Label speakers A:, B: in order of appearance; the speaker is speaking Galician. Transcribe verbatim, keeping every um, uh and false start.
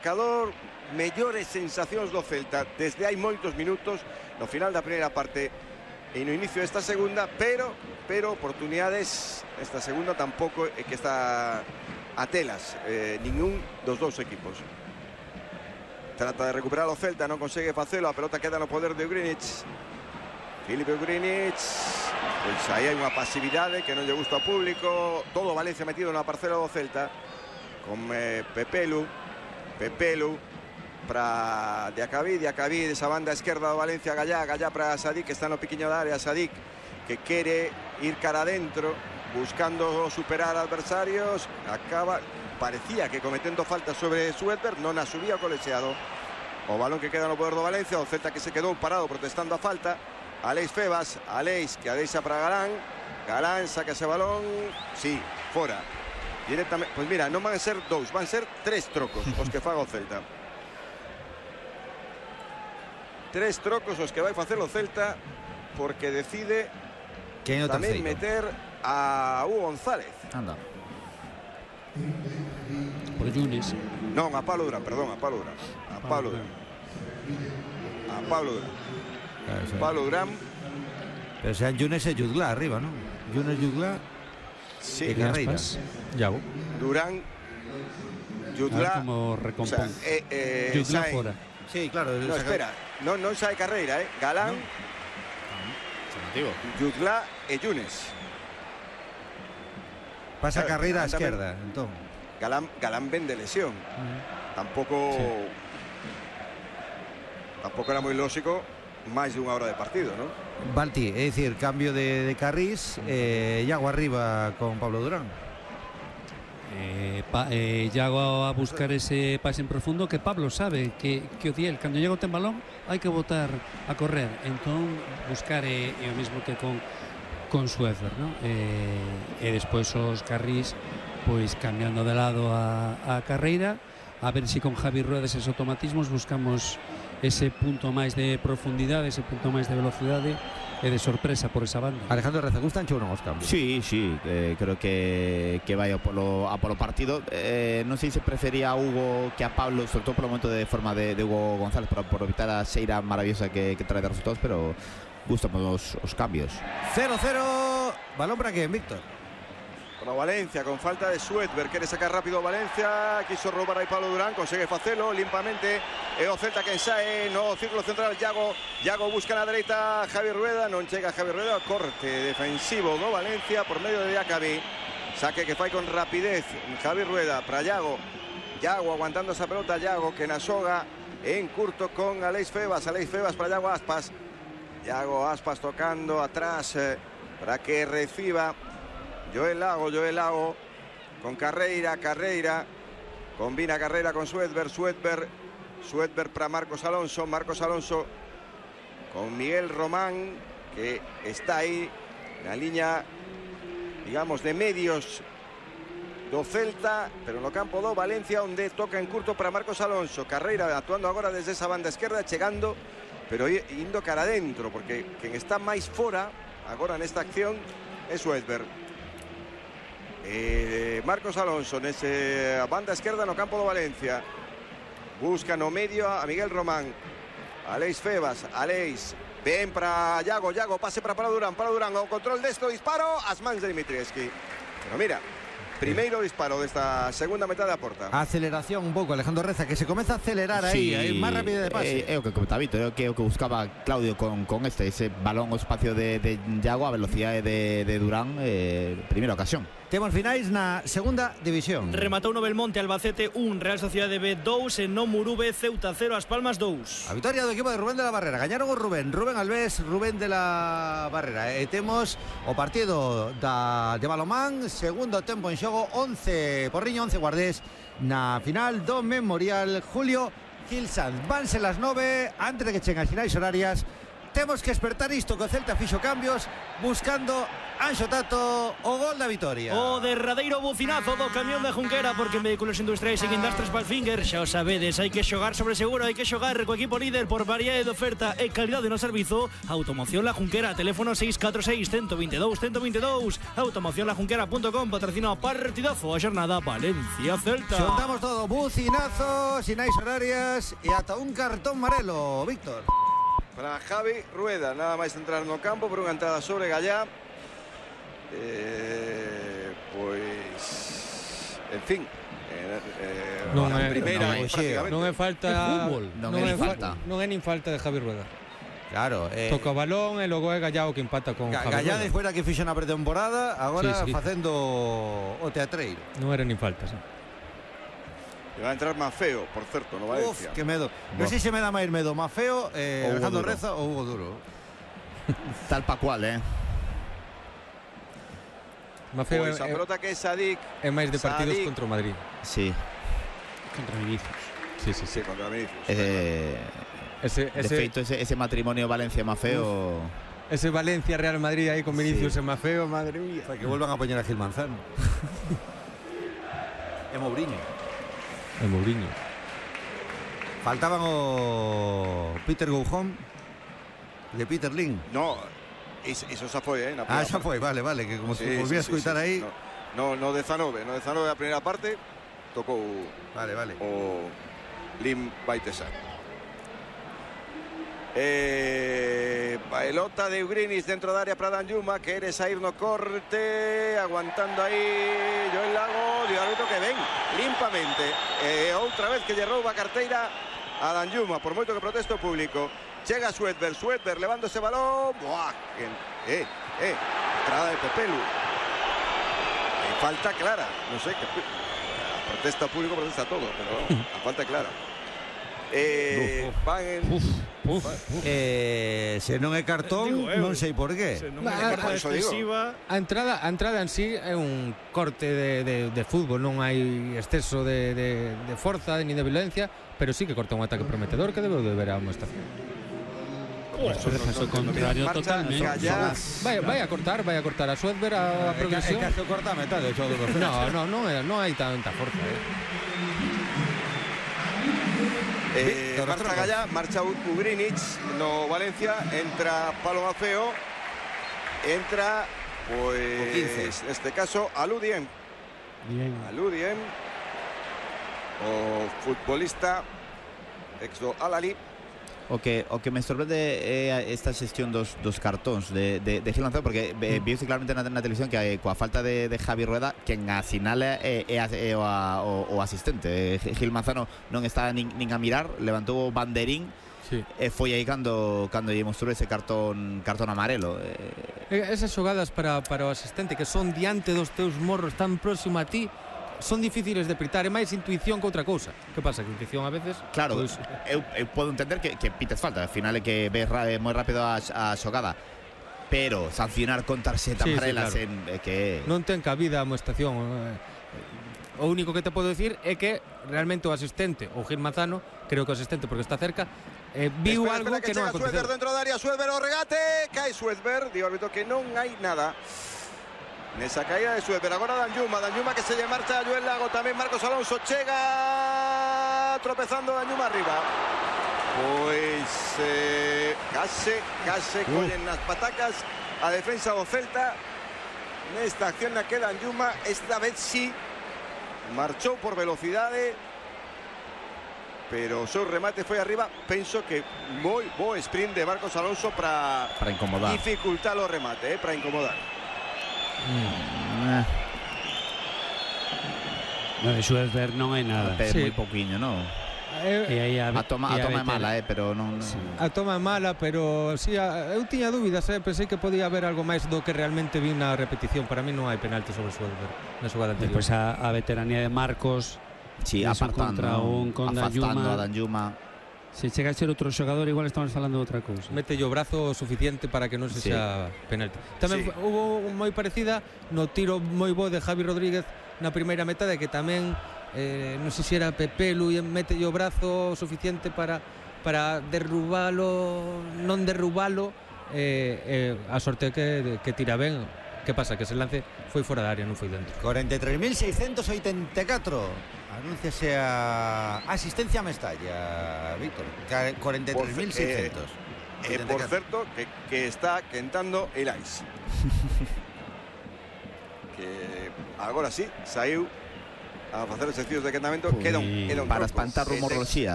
A: Marcador, mellores sensacións do Celta desde hai moitos minutos no final da primeira parte e no inicio desta segunda, pero pero oportunidades esta segunda tampouco é que está a telas eh, ningún dos dous equipos. Trata de recuperar o Celta, non consegue facelo, a pelota queda no poder de Ugrinic. Filipe Ugrinic, pois aí hai unha pasividade que non lle gusta ao público. Todo Valencia metido na parcela do Celta con eh, Pepelu Pepelu para Diacabí, Diacabí desa banda esquerda do Valencia, Gallá, Gallá para Sadik, que está no piquiño da área, Sadik que quere ir cara adentro buscando superar adversarios, acaba, parecía que cometendo falta sobre Suetber, non a subía o colexiado. O balón que queda no poder do Valencia, o Celta que se quedou parado protestando a falta. Aleix Febas, Aleix que a deixa para Galán, Galán saca ese balón, sí, fora. Directamente, pues mira, non van a ser dous, van a ser tres trocos os que faga o Celta. Tres trocos os que vai facer o Celta porque decide tamén meter a Hugo González.
B: Anda.
C: Por Yunes.
A: Non, a Pablo Durán, perdón, a Pablo Durán. A Pablo Durán. A Pablo Durán. Pablo Durán.
B: Pero sean Yunes e Jutgla arriba, ¿no? Yunes, Jutgla.
A: Sí,
C: Aspas, Yago.
A: Durán, Jutgla,
C: como recompón.
A: O sea, eh, eh,
C: Jutgla
A: Sae,
C: fora.
B: Sí, claro.
A: No, espera, non non sae Carreira, eh. Galán,
B: no.
A: Jutgla e Yunes.
B: Pasa
A: claro,
B: Carreira a
A: Galán
B: esquerda, entón.
A: Galán, Galán ven de lesión. Uh-huh. Tampouco sí. Tampouco era moi lógico máis de unha hora de partido, ¿no?
B: Balti, é dicir, cambio de, de Carrís, eh, Iago arriba con Pablo Durán.
C: Eh, pa, eh, Iago a buscar ese pase en profundo que Pablo sabe que, que o Diel, cando llega o ten balón, hai que botar a correr. Entón, buscar é, é o mismo que con, con Suefer, ¿no? Eh, e despois os Carrís, pois cambiando de lado a, a carreira, a ver se si con Javi Rueda eses automatismos buscamos ese punto máis de profundidade, ese punto máis de velocidade e de sorpresa por esa banda.
B: Alejandro Reza, gustan ou non os cambios?
D: Sí, sí, eh, creo que, que vai a polo, a polo partido. Eh, non sei se prefería a Hugo que a Pablo, sobre todo polo momento de forma de, de Hugo González, por, por evitar a xeira maravillosa que, que trae de resultados, pero gustan os, os cambios.
B: cero cero, balón para que Víctor.
A: Para Valencia, con falta de Suetber, quere sacar rápido Valencia, quiso roubar aí Pablo Durán, consegue facelo limpamente, e o Celta que sae no círculo central, Iago, Iago busca na dereita, Javi Rueda, non chega Javi Rueda, corte defensivo do Valencia por medio de Diacabí, saque que fai con rapidez Javi Rueda para Iago, Iago aguantando esa pelota, Iago que na xoga en curto con Aleix Febas, Aleix Febas para Iago Aspas, Iago Aspas tocando atrás eh, para que reciba Joel Lago, Joel Lago con Carreira, Carreira combina Carreira con Suetber, Suetber, Suetber para Marcos Alonso, Marcos Alonso con Miguel Román que está aí na liña, digamos, de medios do Celta, pero no campo do Valencia onde toca en curto para Marcos Alonso, Carreira actuando agora desde esa banda esquerda, chegando, pero indo cara adentro, porque quen está máis fora agora nesta acción é Suetber. Eh, Marcos Alonso nese banda esquerda no campo do Valencia, busca no medio a Miguel Román, Aleix Febas, Aleix ben para Iago, Iago pase para Pablo Durán, Pablo Durán ao control desto, disparo as mans de Dimitrievski, pero mira, primeiro disparo desta segunda metade da porta.
B: Aceleración un pouco, Alejandro Reza, que se comeza a acelerar aí, sí, aí máis rápido de pase.
D: É, é o que comentaba Vito, é o que, o que buscaba Claudio con, con este, ese balón ao espacio de, de Iago, a velocidade de, de Durán, eh, primeira ocasión.
B: Temos finais na segunda división.
E: Rematou no Belmonte, Albacete un, Real Sociedade B dous, en no Murube, Ceuta cero, As Palmas dous.
B: A victoria do equipo de Rubén de la Barrera. Gañaron o Rubén, Rubén Alves, Rubén de la Barrera. E temos o partido da, de balomán, segundo tempo en xogo, once Porriño, once Guardés, na final do Memorial Julio Gil Sanz. Vanse las nove, antes de que cheguen as finais horarias, temos que despertar isto que o Celta fixo cambios buscando Anxo Tato o gol da vitoria.
E: O derradeiro bucinazo do camión de Junquera, porque en Vehículos Industriais e Industries Palfinger xa o sabedes, hai que xogar sobre seguro, hai que xogar co equipo líder por variedade de oferta e calidade no servizo. Automoción La Junquera, teléfono seis catro seis, uno dos dos, uno dos dos. automoción la junquera punto com, patrocina o partidazo a xornada Valencia-Celta.
B: Xontamos todo, bucinazo, sinais horarias e ata un cartón amarelo, Víctor.
A: Para Javi Rueda, nada máis entrar no campo por unha entrada sobre Gallá. Eh, pois, en fin, eh, eh,
F: non
A: a
F: é,
A: primeira
F: non é,
A: prácticamente.
F: non é falta,
C: É fútbol.
D: Non
F: non
D: é
F: é
D: nin falta.
F: Non é nin falta de Javi Rueda.
B: Claro, eh,
F: Toca o balón e logo é Gallao que empata con
B: Ga-
F: Javi
B: Gallá
F: Rueda.
B: despois da que fixo na pretemporada, agora
F: Sí, sí.
B: facendo o teatreiro.
F: Non era nin falta, sí.
A: E va a entrar Mafeo, por certo, no Valencia.
B: Uf, que medo. Non sei se me dá máis medo Mafeo, eh,
D: Ou Hugo
B: Alejandro
D: Duro.
B: Reza ou Hugo Duro.
D: Tal pa cual, eh.
F: Mafeo
A: Pois a
F: é,
A: pelota que é Sadik,
F: é máis de partidos
A: Sadik.
F: contra o Madrid.
D: Sí.
C: Contra Vinicius.
F: Sí, sí,
A: sí,
F: sí.
A: contra Vinicius.
D: Eh,
F: Ese,
D: de
F: ese,
D: feito, ese, ese matrimonio Valencia-Mafeo...
F: ese Valencia-Real Madrid aí con Vinicius e Mafeo, madre mía.
B: O sea, que vuelvan a poñer a Gil Manzano. E Mourinho.
F: E Mourinho.
B: Faltaban o Peter Goujón de Peter Lim.
A: No, iso, iso xa foi, eh, na
B: Ah,
A: primeira
B: xa
A: parte.
B: foi, vale, vale, que como
A: Sí,
B: se volvía
A: sí,
B: a escoitar
A: sí, sí.
B: aí.
A: No, no, no dezanove, no dezanove a primeira parte tocou
B: Vale, vale.
A: o Lim Baitesar. Eh, pelota de Ugrinis dentro da área para Danjuma, quere sair no corte, aguantando aí Joel Lago, e o árbitro que ven limpamente. E outra vez que lle rouba a carteira a Danjuma, por moito que proteste o público. Chega Suedberg, Suedberg levando ese balón. Buah, que, eh, eh, entrada de Pepelu. E falta clara, non sei que a protesta o público, protesta todo, pero a falta clara. Eh, van en
F: Uf, uf.
B: Eh, se non é cartón,
E: Digo eu.
B: non sei por qué.
E: Se non
F: Va,
E: é carta
A: eso digo.
E: excesiva.
F: A entrada, a entrada en sí é un corte de, de, de fútbol, non hai exceso de, de, de forza ni de violencia, pero sí que corta un ataque prometedor que debe de ver a unha estación.
C: Caso contrario
A: marcha
C: totalmente.
A: Gallá.
F: Vai, vai a cortar, vai a cortar a Suedberg a, a progresión.
B: É que corta a metade, todo do
F: No, no, non, é, non hai tanta forza, eh.
A: Eh,
B: Víctor,
A: marcha
B: Ramos.
A: Gallá, marcha Ugrinic no Valencia, entra Palo Mafeo, entra pues
B: quince.
A: en este caso Aludien,
C: Bien.
A: Aludien, o futbolista ex do Al-Ahly.
D: O que o que me sorprende é esta xestión dos, dos cartóns de, de, de Gil Manzano, porque eh, viuse claramente na, na televisión que eh, coa falta de, de Javi Rueda quen asinala é, é, é o, a, o, o asistente. Eh, Gil Manzano non está nin, nin a mirar, levantou o banderín
F: Sí.
D: e foi aí cando cando lle mostrou ese cartón cartón amarelo. Eh,
F: Esas xogadas para, para o asistente que son diante dos teus morros tan próximo a ti son difíciles de pitar, é máis intuición que outra cousa. Que pasa? Que intuición a veces
D: Claro,
F: pois,
D: eu, eu podo entender que, que pites falta, al final é que ves ra, eh, moi rápido a, a xogada, pero sancionar con tarxeta
F: Sí, sí,
D: amarelas
F: claro.
D: en, é que
F: non ten cabida a amoestación. O único que te podo decir é que realmente o asistente, o Gil Manzano, creo que o asistente porque está cerca, eh, viu
A: Espera,
F: algo
A: espera,
F: que,
A: que
F: non
A: chega
F: aconteceu.
A: Suedberg dentro da área, Suedberg o regate, cae Suedberg, di o árbitro que non hai nada. Nesa caída de Suedberg, agora Danjuma, Danjuma que se lle marcha a Joel Lago, tamén Marcos Alonso chega tropezando Danjuma arriba. Pois eh, case, case
F: Uh.
A: collen nas patacas a defensa do Celta. Nesta acción na que Danjuma esta vez sí marchou por velocidade, pero o seu remate foi arriba. Penso que moi bo sprint de Marcos Alonso para
D: para incomodar.
A: dificultar o remate, eh, para incomodar.
D: Mm,
C: No, de Suedberg non hai nada.
D: eh,
F: Sí.
D: moi pouquiño, non?
F: Eh,
C: E aí a,
D: A toma,
C: e
D: a toma é
C: veter-
D: mala, eh, pero non, non.
C: Sí.
F: A toma é mala, pero sí, a, eu tiña dúbidas, eh, pensei que podía haber algo máis do que realmente vi na repetición. Para mí non hai penalti sobre Suedberg na xogada anterior.
C: Despois a, a veteranía de Marcos,
D: Sí,
C: Iso
D: apartando,
C: contra un con
D: afastando
C: Danjuma.
D: a Danjuma.
C: se chega a ser outro xogador, igual estamos falando de outra cousa.
F: Mete o brazo suficiente para que non se
D: Sí.
F: xa penalti. Tamén
A: Sí.
F: sí. hubo moi parecida no tiro moi bo de Javi Rodríguez na primeira metade, que tamén eh, non sei se era Pepelu e mete o brazo suficiente para para derrubalo, non derrubalo, eh, eh, a sorte que, que tira ben. Que pasa? Que ese lance foi fora da área, non foi dentro.
B: cuarenta y tres mil seiscientos ochenta y cuatro. Anúnciase a asistencia a Mestalla, Víctor. cuarenta y tres mil seiscientos.
A: Eh, eh, por cierto, que, que está quentando el ice. Que agora sí, saiu a facer os exercicios de quentamento. Queda un, queda un
D: para
A: troco.
D: espantar rumor Roxía,